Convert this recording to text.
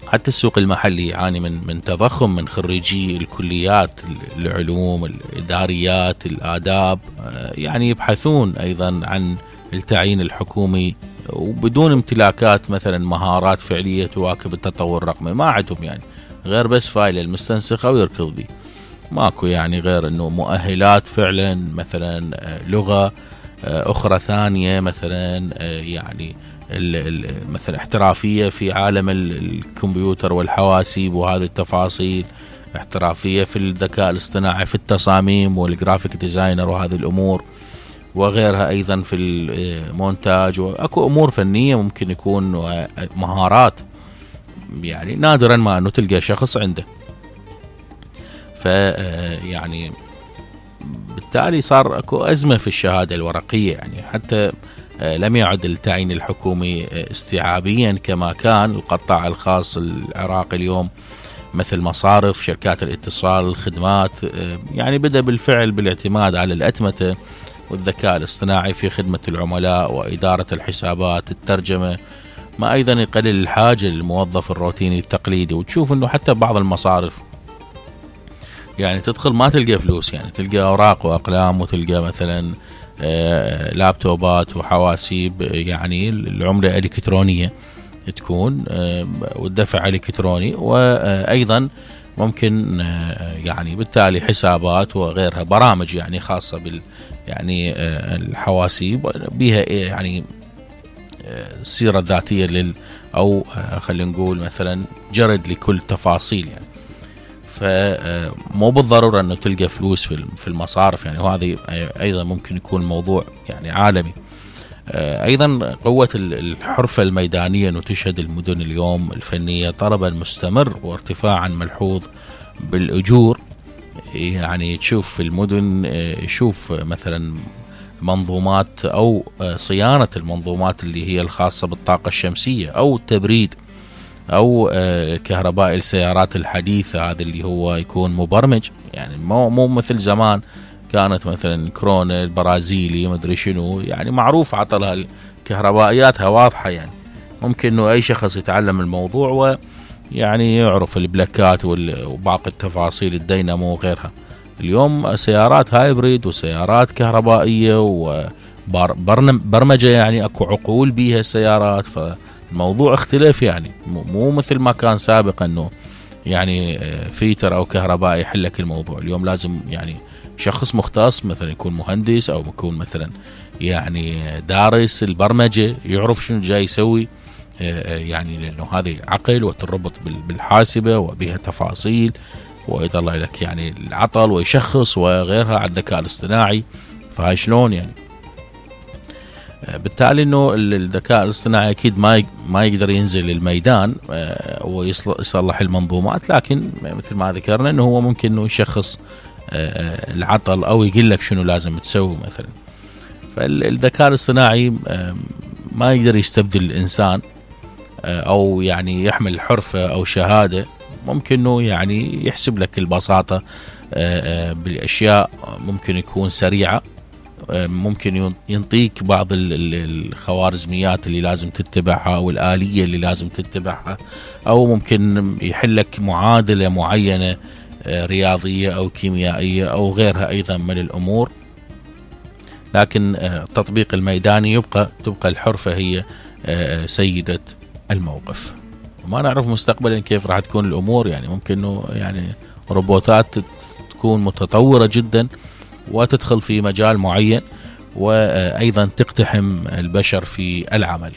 حتى السوق المحلي يعاني من تضخم من خريجي الكليات العلوم الإداريات الآداب، يعني يبحثون أيضا عن التعيين الحكومي وبدون امتلاكات مثلا مهارات فعلية تواكب التطور الرقمي. ما عندهم يعني غير بس فايل المستنسخة ويركض بيه، ماكو يعني غير انه مؤهلات فعلا مثلا لغة اخرى ثانية مثلا، يعني مثلا احترافية في عالم الكمبيوتر والحواسيب وهذه التفاصيل، احترافية في الذكاء الاصطناعي في التصاميم والجرافيك ديزاينر وهذه الامور وغيرها، ايضا في المونتاج، واكو امور فنية ممكن يكون مهارات يعني نادرا ما انه تلقى شخص عنده. يعني بالتالي صار اكو ازمة في الشهادة الورقية، يعني حتى لم يعد التعيين الحكومي استيعابيا كما كان. القطاع الخاص العراقي اليوم مثل مصارف، شركات الاتصال، الخدمات، يعني بدأ بالفعل بالاعتماد على الأتمتة والذكاء الاصطناعي في خدمة العملاء وإدارة الحسابات، الترجمة، ما أيضا يقلل الحاجة للموظف الروتيني التقليدي. وتشوف أنه حتى بعض المصارف يعني تدخل ما تلقى فلوس، يعني تلقى أوراق وأقلام، وتلقى مثلا لابتوبات وحواسيب، يعني العملة إلكترونية تكون والدفع إلكتروني، وأيضا ممكن يعني بالتالي حسابات وغيرها، برامج يعني خاصة بال يعني الحواسيب بها يعني السيرة الذاتية أو خلينا نقول مثلا جرد لكل تفاصيل يعني. فمو بالضرورة أنه تلقى فلوس في المصارف يعني، وهذه أيضا ممكن يكون موضوع يعني عالمي. أيضا قوة الحرفة الميدانية أنه تشهد المدن اليوم الفنية طلبا مستمر وارتفاعا ملحوظ بالأجور. يعني تشوف في المدن، يشوف مثلا منظومات أو صيانة المنظومات اللي هي الخاصة بالطاقة الشمسية أو التبريد أو كهرباء السيارات الحديثة، هذا اللي هو يكون مبرمج، يعني مو مثل زمان كانت مثلا كورونا البرازيلي مدري شنو، يعني معروف عطلها الكهربائياتها واضحة، يعني ممكن انه اي شخص يتعلم الموضوع ويعني يعرف البلاكات وباقي التفاصيل الدينامو وغيرها. اليوم سيارات هايبريد وسيارات كهربائية وبرمجة، يعني اكو عقول بيها السيارات، فالموضوع اختلف يعني مو مثل ما كان سابقا انه يعني فيتر او كهربائي يحلك الموضوع. اليوم لازم يعني شخص مختص مثلا يكون مهندس او يكون مثلا يعني دارس البرمجة، يعرف شنو جاي يسوي، يعني لانه هذه عقل وتربط بالحاسبة وبها تفاصيل ويطلع لك يعني العطل ويشخص وغيرها على الذكاء الاصطناعي. فهاي شلون يعني؟ بالتالي انه الذكاء الاصطناعي اكيد ما يقدر ينزل الميدان ويصلح المنظومات، لكن مثل ما ذكرنا انه هو ممكن انه يشخص العطل او يقول لك شنو لازم تسوي مثلا. فالذكاء الاصطناعي ما يقدر يستبدل الانسان او يعني يحمل حرفة او شهادة، ممكن انه يعني يحسب لك البساطة بالاشياء، ممكن يكون سريعة، ممكن ينطيك بعض الخوارزميات اللي لازم تتبعها او الآلية اللي لازم تتبعها، او ممكن يحلك معادلة معينة رياضية أو كيميائية أو غيرها أيضا من الأمور. لكن التطبيق الميداني تبقى الحرفة هي سيدة الموقف. وما نعرف مستقبلا كيف راح تكون الأمور، يعني ممكن إنه يعني روبوتات تكون متطورة جدا وتدخل في مجال معين وأيضا تقتحم البشر في العمل.